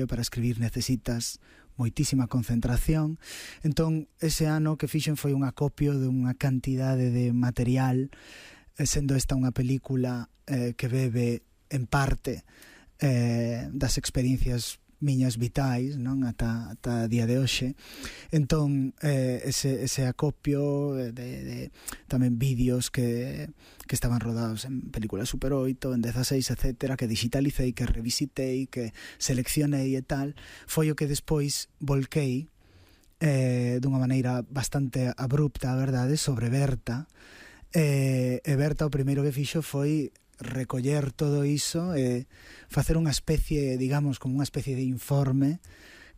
para escribir necesitas moitísima concentración. Entón, ese ano que fixen foi un acopio de unha cantidade de material, sendo esta unha película que bebe en parte das experiencias miñas vitais, non, ata día de hoxe. Entón, ese acopio de tamén vídeos que estaban rodados en películas Super 8, en 16, etcétera, que digitalicei, que revisitei, que seleccionei e tal, foi o que despois volquei dunha maneira bastante abrupta, a verdade, sobre Berta. E Berta o primeiro que fixo foi recoller todo iso e facer unha especie, digamos, como unha especie de informe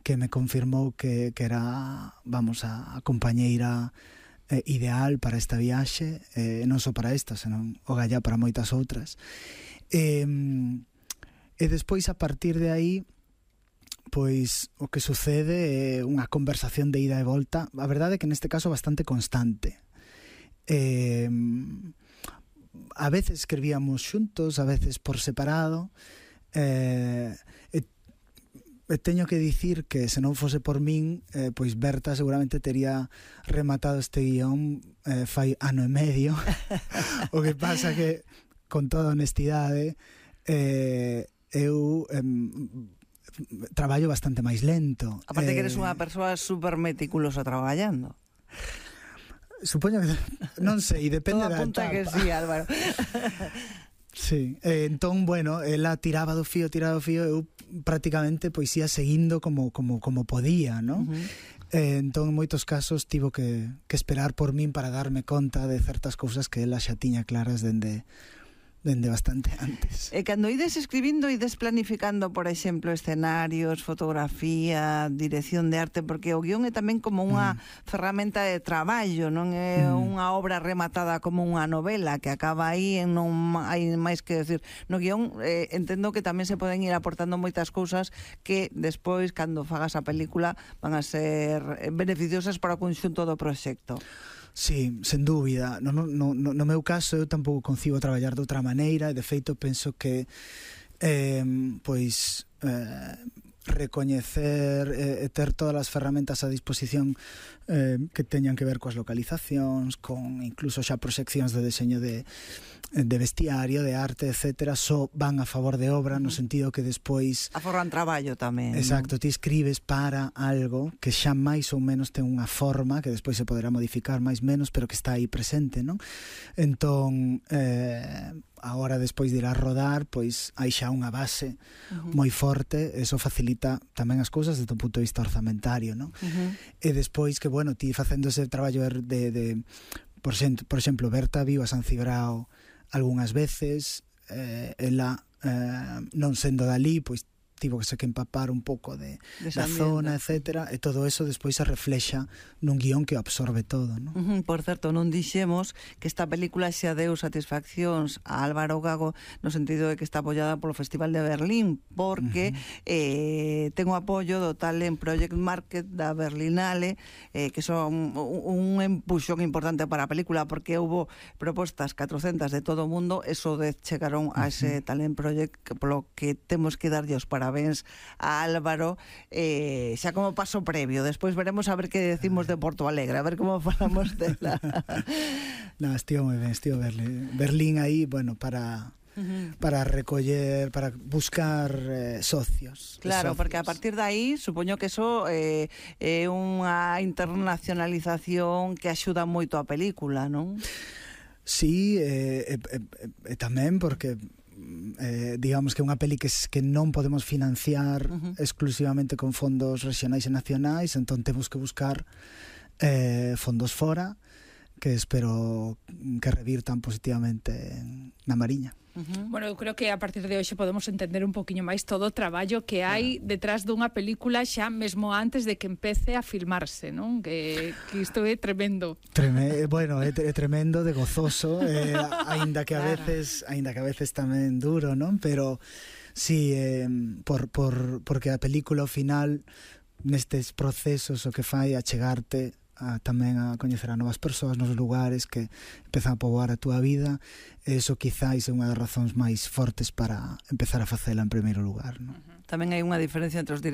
que me confirmou que era, vamos, a compañeira ideal para esta viaxe, non só para esta, senón o gallá para moitas outras. E despois, a partir de aí, pois o que sucede é unha conversación de ida e volta, a verdade é que neste caso bastante constante. A veces escribíamos xuntos, a veces por separado, teño que dicir que se non fose por min, pois Berta seguramente tería rematado este guión fai ano e medio. O que pasa que, con toda honestidade, eu traballo bastante máis lento. Aparte que eres unha persoa super meticulosa traballando. Supoño que, non sei, depende da etapa. Todo apunta que sí, Álvaro. Sí, entón, bueno, ela tiraba do fío, eu prácticamente pois ia seguindo como podía, non? Entón, en moitos casos, tivo que esperar por min para darme conta de certas cousas que ela xa tiña claras dende bastante antes. E cando ides escribindo, ides planificando, por exemplo, escenarios, fotografía, dirección de arte, porque o guión é tamén como unha ferramenta de traballo, non é unha obra rematada como unha novela que acaba aí e non hai máis que decir. No guión entendo que tamén se poden ir aportando moitas cousas que despois, cando fagas a película, van a ser beneficiosas para o conxunto do proxecto. Sí, sen dúbida. No meu caso, eu tampouco concibo traballar de outra maneira, e de feito penso que recoñecer e ter todas as ferramentas a disposición que teñan que ver coas localizacións, con incluso xa proxeccións de deseño de vestiario, de arte, etcétera, só van a favor de obra, no sentido que despois aforran traballo tamén. Exacto, ti escribes para algo que xa máis ou menos ten unha forma que despois se poderá modificar máis menos, pero que está aí presente, non? Entón, a hora despois de ir a rodar, pois hai xa unha base moi forte, eso facilita tamén as cousas desde o punto de vista orzamentario, non? E despois que, bueno, ti facendo ese traballo de por exemplo, Berta viu a San Cibrao algunhas veces, ela non sendo dali, pois tivo que se que empapar un pouco da zona, etcétera, e todo eso despois se reflexa nun guión que absorbe todo, non? Por certo, non dixemos que esta película xa deu satisfaccións a Álvaro Gago no sentido de que está apoiada polo Festival de Berlín, porque ten o apoio do Talent Project Market da Berlinale, que son un empuxón importante para a película, porque houve propostas 400 de todo o mundo, eso de chegaron a ese Talent Project, polo que temos que darlle os parabéns a Álvaro, xa como paso previo. Despois veremos a ver que decimos de Porto Alegre, a ver como falamos dela. No, estivo moi ben, estivo Berlín aí, bueno, para recoller, para buscar socios. Claro, porque a partir de aí, supoño que eso é unha internacionalización que axuda moito a película, non? Sí, tamén porque digamos que é unha peli que non podemos financiar exclusivamente con fondos regionais e nacionais, entón temos que buscar fondos fora que espero que revirtan positivamente na Mariña. Bueno, eu creo que a partir de hoxe podemos entender un poquinho máis todo o traballo que hai detrás dunha película xa mesmo antes de que empece a filmarse, non? Que isto é tremendo. Bueno, é tremendo, de gozoso, aínda que a veces tamén duro, non? Pero sí, porque a película ao final nestes procesos o que fai a chegarte tamén a coñecer a novas persoas nos lugares que empezan a poboar a túa vida. Eso quizáis é unha das razóns máis fortes para empezar a facela en primeiro lugar, non? Tamén hai unha diferencia entre os directores